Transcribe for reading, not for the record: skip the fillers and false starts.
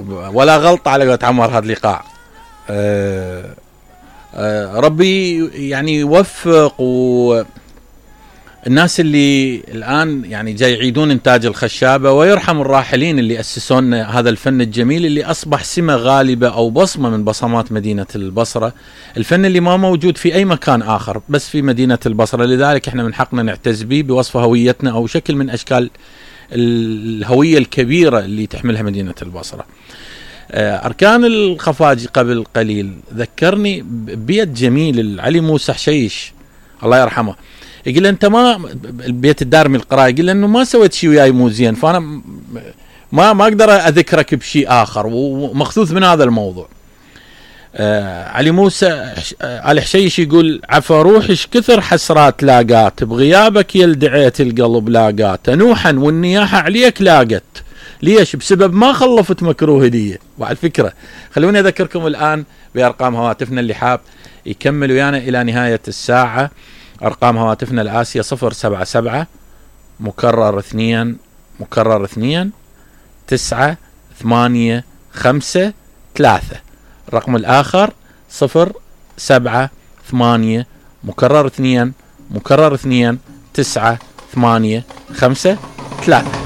ولا غلطة على قولة عمر هذا الإيقاع. ربي يعني يوفق الناس اللي الآن يعني جاي يعيدون إنتاج الخشابة، ويرحم الراحلين اللي أسسون هذا الفن الجميل اللي أصبح سمة غالبة أو بصمة من بصمات مدينة البصرة، الفن اللي ما موجود في أي مكان آخر بس في مدينة البصرة. لذلك إحنا من حقنا نعتز به بوصف هويتنا أو شكل من أشكال الهوية الكبيرة اللي تحملها مدينة البصرة. أركان الخفاجي قبل قليل ذكرني ببيت جميل علي موسى حشيش الله يرحمه، يقول له انت ما البيت الدارمي القراءة، يقول له انه ما سويت شيء وياي مو زين، فانا ما اقدر اذكرك بشيء اخر، ومخذوذ من هذا الموضوع. علي موسى الحشيش يقول عفا روحش كثر حسرات لاقات، بغيابك يلدعيت القلب لاقات، نوحا والنياحة عليك لاقت، ليش؟ بسبب ما خلفت مكروه هدية. وعلى فكرة خلوني اذكركم الان بارقام هواتفنا اللي حاب يكمل ويانا الى نهاية الساعة. أرقام هواتفنا الآسية 077 مكرر 2 مكرر 2 9 8 5 3. الرقم الآخر 078 مكرر 2 مكرر 2 9 8 5 3.